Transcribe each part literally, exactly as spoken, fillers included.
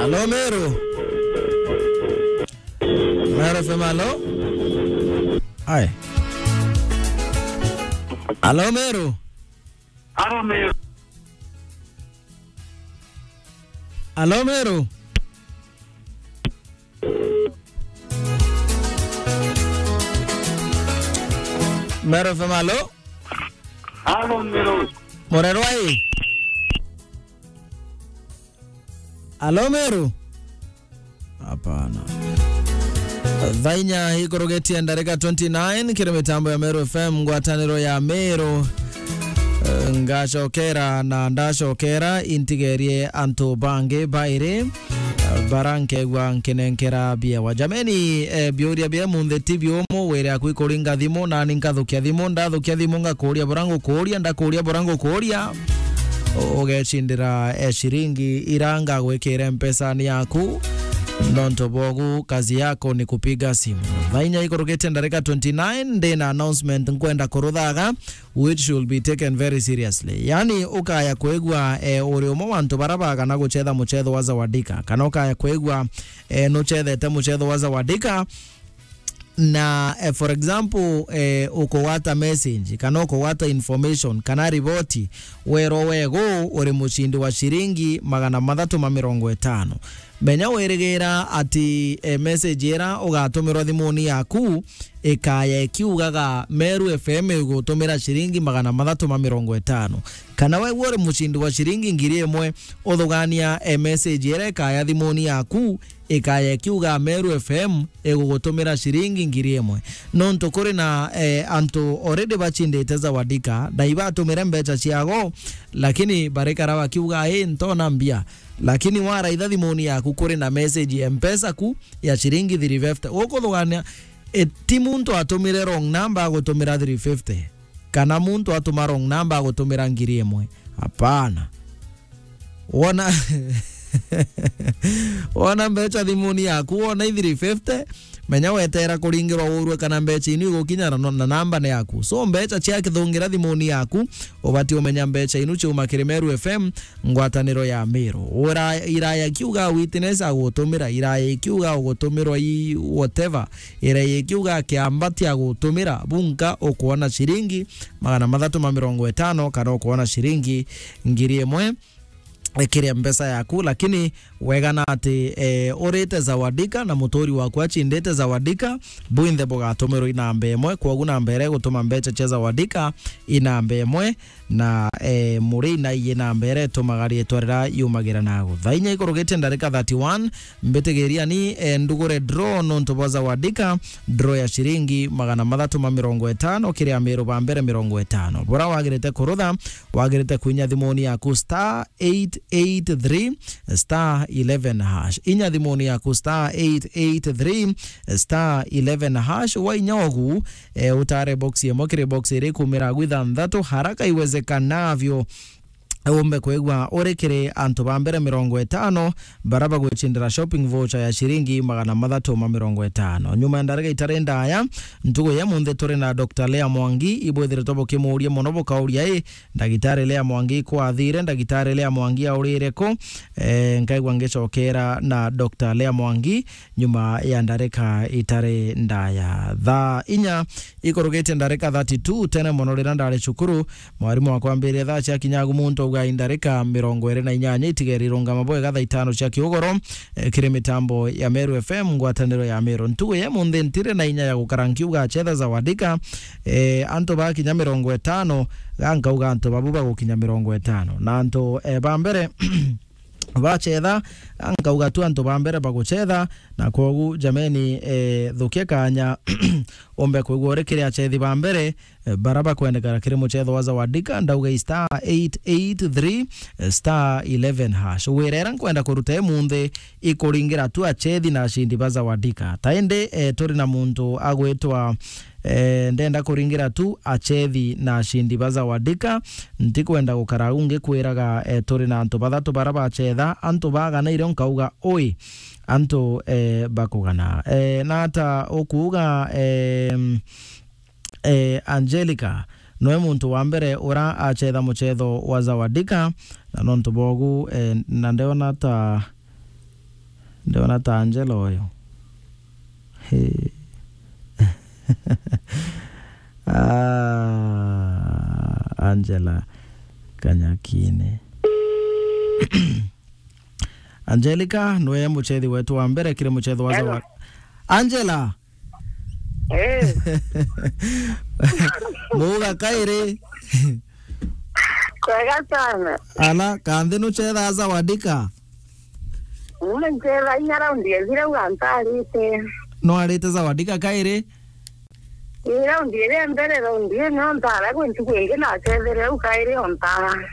Halo, Meru. Meru F M, halo? Ai. Halo, Meru. Halo, Meru. Halo, Meru. Meru F M, halo? Halo, Meru. Murerwa i? Halo, Meru? Hapana. Thaa inya ikurugitie ndarika twenty nine, kiri mitambo ya Meru F M, ngwataniro ya Meru. Eh, ngacokera na ndacokera, intigerie antu bangi bairi, eh, bara nkegua nkinenkera biewa. Jameni, eh, biuria bia munthi ti biumu, wire aku ikuringa thimu, nani nkathukia thimu, ndathukia thimu ngakuria bura ngukuria, ndakuria bura ngukuria. U-, ugecindira, eh, ciringi ira ngagwikire mpesani yaku. Nontu bwogu, kazi yako ni kupiga simu. Thaa inya ikurugite ndarika twenty nine, ndi na announcement nkwenda kuruthaga, which should be taken very seriously. Yani, ukaya kwigua, eh, uri umwe wa antu bara bagana gucetha mucetho wa Zawadika, kana ukaya kwigua, eh, nucethete mucetho wa Zawadika, na, eh, for example, eh, ukugwata message, kana ukugwata information, kana riboti, werwo wegu uri mucindi wa ciringi magana mathatu ma mirongo itano. Menya wirigira ati, eh, message ira ugatumirwa thimuni yaku ikaya ikiugaga, "Meru F M igutumira ciringi magana mathatu ma mirongo itano." Kana wegua uri mucindi wa ciringi ngiri imwe, uthugania, eh, message ira ikaya thimuni yaku ikaya ikiuga, "Meru F M igugutumira ciringi ngiri imwe." Nontu kuri na, eh, antu already bacindite Zawadika, na ibatumire mbeca ciago, lakini barikara bakiuga, "Ii, ntona mbia." Lakini waraitha thimuni yaku, kuri na message ya Mpesa ku ya ciringi three fifty. Ukuthugania, eh, ti muntu atumire wrong number agutumira three fifty, kana muntu atuma wrong number agutumira ngiri imwe. Hapana. Wona, wona mbeca thimuni yaku, wona i three fifty, menya wetera kuringirwa urue kana mbeca inu igukinya na, na namba ni yaku. So, mbeca ciakithungira thimuni yaku, ubati umenya mbeca inu ciuma kiri Meru F M, ngwataniro ya Meru. Ura-, iraya ikiuga witness agutumira, iraya ikiuga ugutumirwa i whatever, iraya ikiuga kiambati agutumira, bunka ukwona ciringi magana mathatu ma mirongo itano, kana ukwona ciringi ngiri imwe, eh, kiria mbeca yaku, lakini wegana ati, eh, urite Zawadika na muturi waku acindite Zawadika, bwinthe bugatumirwa i namba imwe. Kwogu namba iria igutuma mbeca cia Zawadika i namba imwe, na, eh, muri na iye namba iria itumaga riitwa riria yumagira nagu. Thaa inya ikurugitie ndarika thirty-one, mbitigiriani, eh, ndugure draw nontu bwa Zawadika, draw ya ciringi magana mathatu ma mirongo itano kiri Amiru ba mbere mirongo itano. Bura wagirite kurutha, wagirite kwinya thimuni yaku star eight eight three star eleven hash. Inya thimuni yaku star eight eight three star eleven hash. Wainya ogu, eh, utare box imwe kiri box iria ikumira agu ithanthatu haraka iwezekanavyo. Umbe kwigua uri kiri antu ba mbere mirongo itano bara bagwicindira shopping voucher ya ciringi magana mathatu ma mirongo itano. Nyuma ya ndarika itari ndaya, ntugu ya munthi turi na Doctor Lea Mwangi, ibwithiritwe bukimuuria mono bukauria, "I, ndagitari Lea Mwangi kwathire, ndagitari Lea Mwangi aurire ku?" Eh, nkaigua ngicokera na Doctor Lea Mwangi nyuma ya ndarika itari ndaya. Thaa inya ikurugitie ndarika thirty-two, tene mono riria ndari cukuru, mwarimu wakwa ambiririe thaa cia kinyagu muntu auga i ndarika mirongo iri na inyanya itigeri irungama bwega thaa itano cia kiugoro, eh, kiri mitambo ya Meru F M, ngwataniro ya Meru. Ntugu ya munthi ntiri na inya ya gukara nkiuga achetha Zawadika, eh, antu bakinya mirongo itano, ga nkauga antu babu bagukinya mirongo itano. Na antu, eh, ba mbere bachetha, nkauga tu antu ba mbere baguchetha, na kwogu, jameni, eh, thukia kanya, umbe kwigua uri kiri achethi ba mbere, eh, bara bakwendekana kiri muchetho wa Zawadika, ndauga i star eight eight three, eh, star eleven hash. Wirera nkwenda kuruta imunthi ikuringira tu achethi na acindi ba Zawadika. Ta indi, eh, turi na muntu agwitwa, eh, ndenda kuringira tu achethi na acindi ba Zawadika. Ntikwenda gukara au ngikwiraga, eh, turi na antu bathatu bara bachetha, antu bagana irio nkauga, ui, antu, eh, bakugana. Eh, nata ukuuga, eh, eh, Angelica, noe muntu wa mbere ura achetha muchetho wa Zawadika, na nontu bogu, eh, na ndeona ta Ndiona ta Angela uyu. He. Ah, Angela Kanyakine. Angelica, nwe muchethi wetu wa mbere kiri muchetho wa Hello. Zawa-, Angela! Eh. Muuga kairi? Kwega sana. Ala, kanthi nuchethaa Zawadika? Ume nchetha inya raundi ethire u antarite. No arite Zawadika kairi? Ii raundi iria mbere, raundi ino ntara gwi ntuku ingi nacethere u kairi o ntara.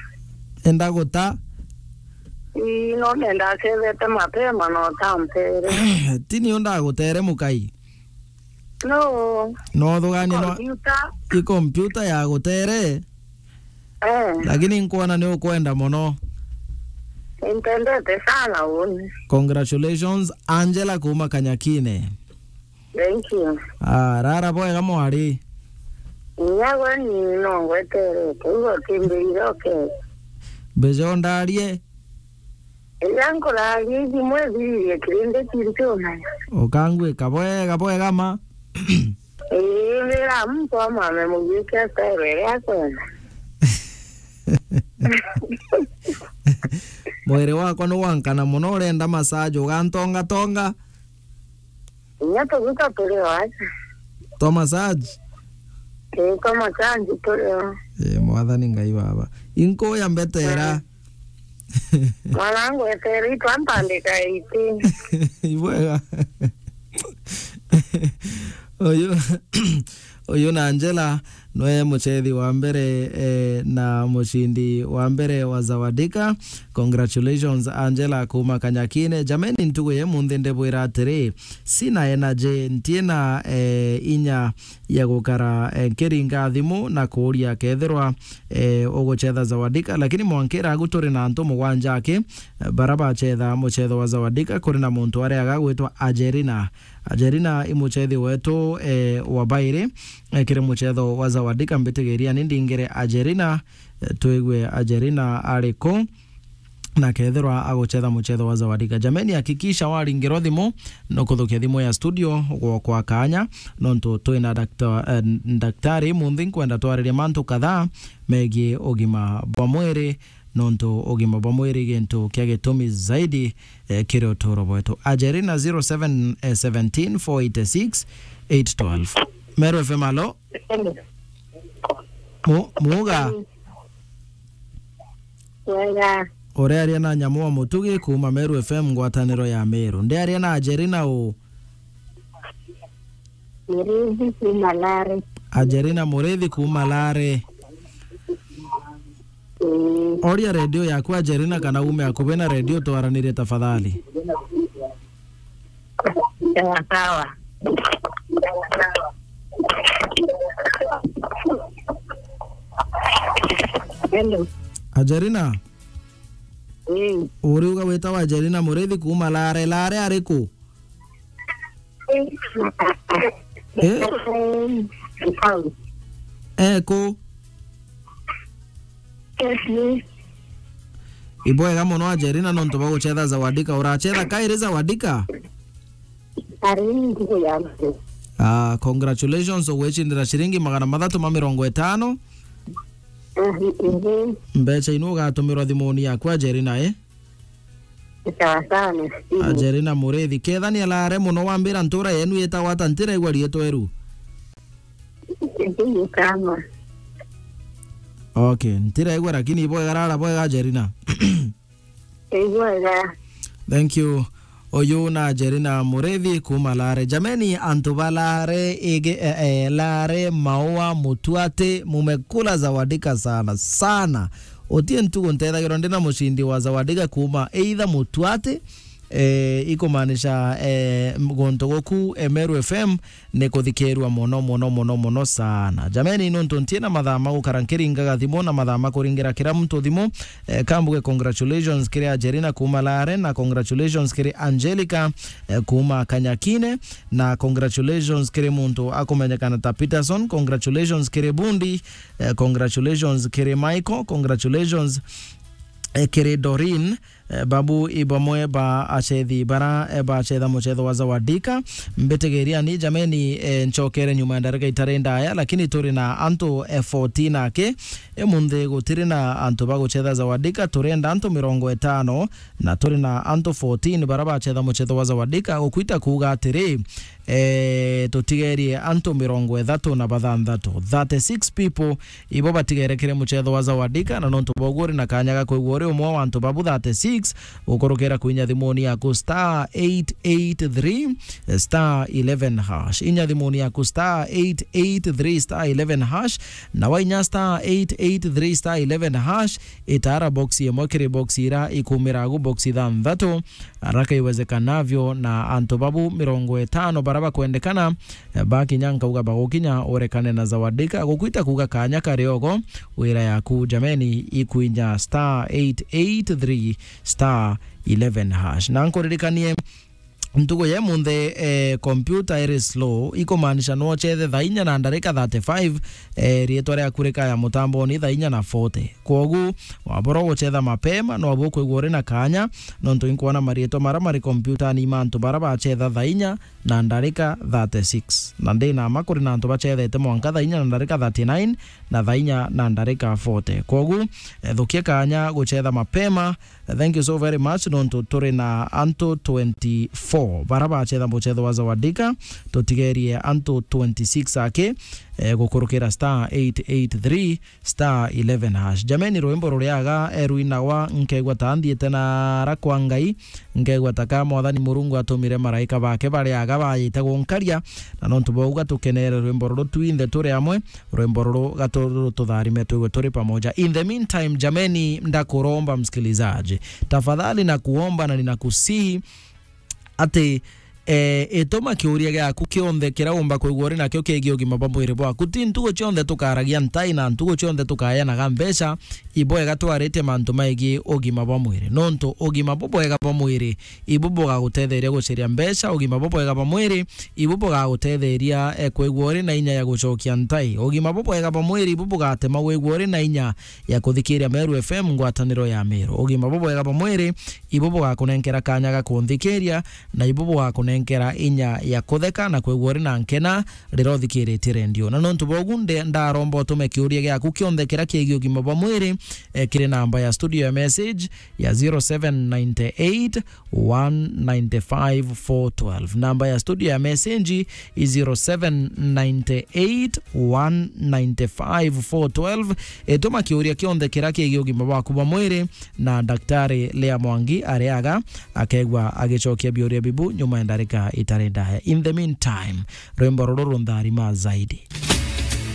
Enda guta? Ii, no nenda acethete mapema no tampere. Tini undagutere mukai? No. No thugani no. Computer. I computer ya gutere? Eh. Lakini nkwona ni ukwenda mono. Nintendete sana uni. Congratulations, Angela kuma Kanyakine. Thank you. Ah, rara bwega mwari. Inya gwe ni no ngweterete, igo timbirire oke. Mbeca undarie? Iria nkuraria ithimo ithiririe kirindi kintu umenya. Ukangwika bwega bwega ma. Ii, wira muntu amame mugwike style iria akwenda. Mwiri wakwa ni wankana mono, urenda massage, ugantongatonga. Inya tuguta turi o aja. Twa massage? Ii, twa massage turi o. Ee, Mwathani Ngai Baba. Inkuya mbetera. Mm. Mwanangu, etere itwa mpandika iti. Ibwega. Uyu, uyu na Angela nwe muchethi wa mbere, eh, na mucindi wa mbere wa Zawadika. Congratulations, Angela, kuma Kanyakine. Jameni, ntugu ya munthi ndibwira atiri, sina energy, ntiena, eh, inya ya gukara, eh, nkiringa thimu na kuuria kethirwa, eh, uguchetha Zawadika, lakini mwankira agu turi na antu mugwanja aki, eh, bara bachetha muchetho wa Zawadika. Kuri na muntu aria agagwitwa Ajerina. Ajerina i muchethi wetu, eh, wa bairi, eh, kiri muchetho wa Zawadika. Mbitigiria ni ndingire Ajerina, eh, twigue Ajerina ari ku. Na kethirwa aguchetha muchetho wa Zawadika. Jameni, hakikisha waringirwa thimu, no kuthukia thimu ya studio gwokwa kanya, nontu twina dakta-, eh, ndaktari munthi nkwenda twaririe mantu kadhaa megie ugima bwa mwiri, nontu ugima bwa mwiri gintu kia gitumi zaidi, eh, kiri uturo bwetu. Ajerina zero seven seventeen four eight six eight twelve. Meru F M, alo? Hello. Mu-, muuga? Wega. Urearia na Nyamu wa Mutugi kuma Meru F M, ngwataniro ya Meru. Ndiaria na Ajerina u? Murithi kuma Lare. Ajerina Murithi kuma Lare. Mm. Oria redio yaku Ajerina kana ume akubi na redio twaranirie tafadhali. Sawa sawa. Hello. Ajerina? Mm. Uriuga witawa Ajerina Murithi kuma Lare. Lare ari ku? Eh? Eh, ku? Ibwega mono Ajerina nontu bwa guchetha Zawadika. Urachetha kairi Zawadika? Ari ntuku ya mbere. Ah, congratulations, ugwicindira ciringi magana mathatu ma mirongo itano. Mhm. Mbeca inu ugatumirwa thimuni yaku Ajerina, eh? Sawa sawa, nashukuru. Ajerina Murithi, kethania Lare mono, wambira ntura yenu yitagwa ata? Ntiraigua riitwa iru. Sijui kama. Okay, ntiraigua, lakini ibwega rara bwega Ajerina. Ibwega. Thank you. Uyu na Ajerina Murithi kuma Lare. Jameni, antu ba Lare, ige, eh, eh, Lare, Maua, Mutuati, mumekula Zawadika sana, sana. Utie ntugu ntethagirwa ndina mucindi wa Zawadika kuma either Mutuati, eh, ikumaanisha, eh, guntu guku, eh, Meru F M, ni kuthikirwa mono, mono, mono, mono sana. Jameni, nontu ntiena mathaa ma gukara nkiringaga thimu na mathaa ma kuringira kira muntu thimu, eh, kambuge congratulations kiri Ajerina kuma Lare, na congratulations kiri Angelica, eh, kuma Kanyakine, na congratulations kiri muntu akumenyekana ta Peterson, congratulations kiri Bundi, eh, congratulations kiri Michael, congratulations, eh, kiri Doreen, Eh, babu i bamwe ba acethi bara, eh, bacetha mucetho wa Zawadika. Mbitigiriani jameni, eh, ncokere nyuma ya ndarika itari ndaya, lakini turi na antu, eh, fourteen aki. Imunthi gutiri na antu ba gucetha Zawadika, turenda antu mirongo itano, na turi na antu fourteen bara bacetha mucetho wa Zawadika, gukwita kuuga atiri, eh, tutigerie antu mirongo ithatu na bathanthatu, thirty-six people, ibo batigerekere mucetho wa Zawadika, na nontu boguo uri na kanya ga kwigua uri umwe wa antu babu thirty-six, gukurukira kwinya thimuni yaku star eight eight three star eleven hash. Inya thimuni yaku star eight eight three star eleven hash, na wainya star eight eight three star eleven hash, itara box imwe kiri box ira ikumira agu box ithanthatu, haraka iwezekanavyo, na antu babu mirongo itano bara bakwendekana, eh, bakinya nkauga bagukinya urekane na Zawadika, gukwita kuuga kanya kari ogo, wira yaku jameni ikwinya star eight eight three star eleven hash. Na nkuririkanie, ntugu ya imunthi, eh, computer iri slow, ikumaanisha no uchethe thaa inya na ndarika thirty-five, eh, riitwa riaku rikaya mutamboni thaa inya na forty. Kwogu, wabura gucetha mapema, no abu ukwigua uri na kanya, nontu inkwona mariitwa mara mari kompyutani ma antu bara bacetha thaa inya na ndarika thirty-six. Na ndi na ma kuri na antu bacethete mwanka thaa inya na ndarika thirty-nine na thaa inya na ndarika forty. Kwogu, eh, thukia kanya gucetha mapema. Eh, thank you so very much, nontu turi na antu twenty-four bara bacetha mucetho wa Zawadika, tutigerie antu twenty-six aki, eh, gukurukira star eight eight three star eleven hash. Jameni, rwimbo ruriaga, eh, rwinagwa, nkegwa ta nthiite nara kwa Ngai, nkegwa ta ka Mwathani Murungu atumire maraika bake bariaga bayite gunkaria, na nontu bwauga tukenere rwimbo ruru twinthe turi amwe, rwimbo ruru gatu-, rututharime twigwe turi pamoja. In the meantime, jameni, ndakuromba msikilizaji, tafadhali nakuomba na ninakusihi, ati, eh, ituma kiuria giaku kionthe kiria umba kwigua uri nakio kigie ugima bwa mwiri bwaku. Ti ntugu cionthe tukaragia ntai na ntugu cionthe tukayanaga mbeca, ibwega twaritie mantu maigie ugima bwa mwiri. Nontu ugima bubwega bwa mwiri ibu bugagutetheria guciria mbeca, ugima bubwega bwa mwiri ibu bugagutetheria, eh, kwigua uri na inya ya gucokia ntai. Ugima bubwega bwa mwiri ibu bugatema wigua uri na inya ya kuthikiria Meru F M, ngwataniro ya Meru. Ugima bubwega bwa mwiri ibu bugakunenkera kanya ga kunthikiria, na ibu bugakunenkera inya ya kutheka na kwigua uri na nkena riria uthikiritie rendio. Na nontu bwogu nde-, ndaromba utume kiuria giaku kionthe kiria kigie ugima bwa mwiri, eh, kiri namba ya studio ya message ya zero seven nine eight one nine five four twelve. Namba ya studio ya message i zero seven nine eight one nine five four twelve. Ituma kiuria kionthe kiria kigie ugima bwaku bwa mwiri, na Daktari Lea Mwangi ariaga akegwa agicokia biuria bibu nyuma ya ndarika itari ndaya. In the meantime, rwimbo ruru runtharima zaidi.